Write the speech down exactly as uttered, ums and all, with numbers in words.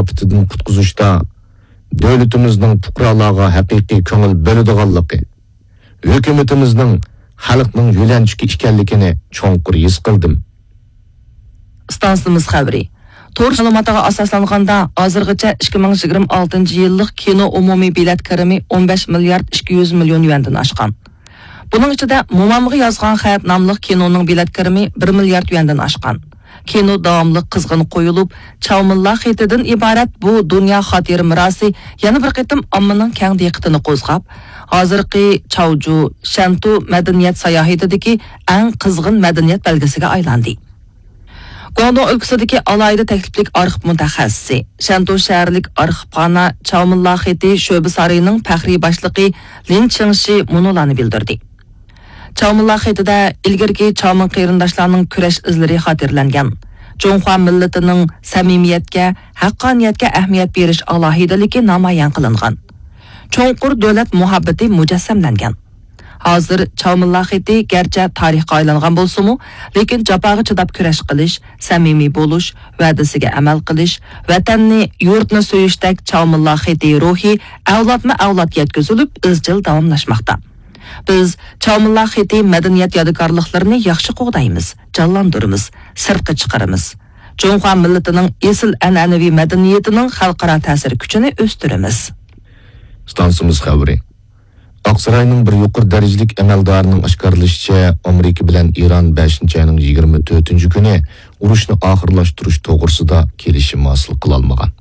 ئاپىتىدىن قۇتقۇزۇشتا دۆلىتىمىزنىڭ پۇقرالارغا ھەقىقىي كۆڭۈل بۆلىدىغانلىقى، ھۆكۈمىتىمىزنىڭ خەلقنىڭ يۆلەنچۈكى ئىكەنلىكىنى چوڭقۇر ھېس قىلدىم. ئىستانسىمىز خەۋىرى. تور مەلۇماتىغا ئاساسلانغاندا، ھازىرغىچە ئىككى مىڭ يىگىرمە ئالتىنچى يىللىق كىنو ئومۇمىي بېلەت كىرىمى ئون بەش مىليارد ئىككى يۈز مىليون يۈەندىن ئاشقان. بۇنىڭ ئىچىدە مومامغا يازغان خەت ناملىق كىنونىڭ بېلەت كىرىمى بىر مىليارد يۈەندىن ئاشقان. كىنو داۋاملىق قىزغىن قويۇلۇپ، چاۋ موللا خېتىدىن ئىبارەت بۇ دۇنيا خاتىرە مىراسى يەنە بىر قېتىم ئاممىنىڭ كەڭ دىققىتىنى قوزغاپ، ھازىرقى چاۋجۇ، شەنتۇ مەدەنىيەت ساياھىتىدىكى ئەڭ قىزغىن مەدەنىيەت بەلگىسىگە ئايلاندى. گۇاڭدۇڭ ئۆلكىسىدىكى ئالاھىدە تەكلىپلىك ئارخىپ مۇتەخەسسىسى، شەنتۇ شەھەرلىك ئارخىپخانا چاۋ موللا خېتى شۆبە سارىيىنىڭ پەخرىي باشلىقى لىن چىڭشى مۇنۇلارنى بىلدۈردى. چاۋ موللا خېتىدە ئىلگىرىكى چاۋمىن قېرىنداشلارنىڭ كۈرەش ئىزلىرى خاتىرىلەنگەن. جۇڭخۇا مىللىتىنىڭ سەمىمىيەتكە، ھەققانىيەتكە ئەھمىيەت بېرىش ئالاھىدىلىكى نامايان قىلىنغان. چوڭقۇر دۆلەت مۇھەببىتى مۇجەسسەملەنگەن. ھازىر چاۋ موللا خېتى گەرچە تارىخقا ئايلانغان بولسىمۇ، لېكىن جاپاغا چىداپ كۈرەش قىلىش، سەمىمىي بولۇش، ۋەدىسىگە ئەمەل قىلىش، ۋەتەننى، يۇرتنى سۆيۈشتەك چاۋ موللا خېتى روھى ئەۋلادمۇ ئەۋلاد يەتكۈزۈلۈپ، ئىزچىل داۋاملاشماقتا. بىز چاۋ موللا خېتى مەدەنىيەت يادىكارلىقلىرىنى ياخشى قوغدايمىز، جانلاندۇرىمىز، سىرتقا چىقىرىمىز. جۇڭخۇا مىللىتىنىڭ ئېسىل ئەنئەنىۋى مەدەنىيىتىنىڭ خەلقئارا تەسىر كۈچىنى ئۆستۈرىمىز. ئىستانسىمىز خەۋىرى. ئاقساراينىڭ بىر يۇقىرى دەرىجىلىك ئەمەلدارىنىڭ ئاشكارىلىشىچە، ئامېرىكا بىلەن ئىران بەشىنچى ئاينىڭ يىگىرمە تۆتىنچى كۈنى ئۇرۇشنى ئاخىرلاشتۇرۇش توغرىسىدا كېلىشىم ھاسىل قىلالمىغان.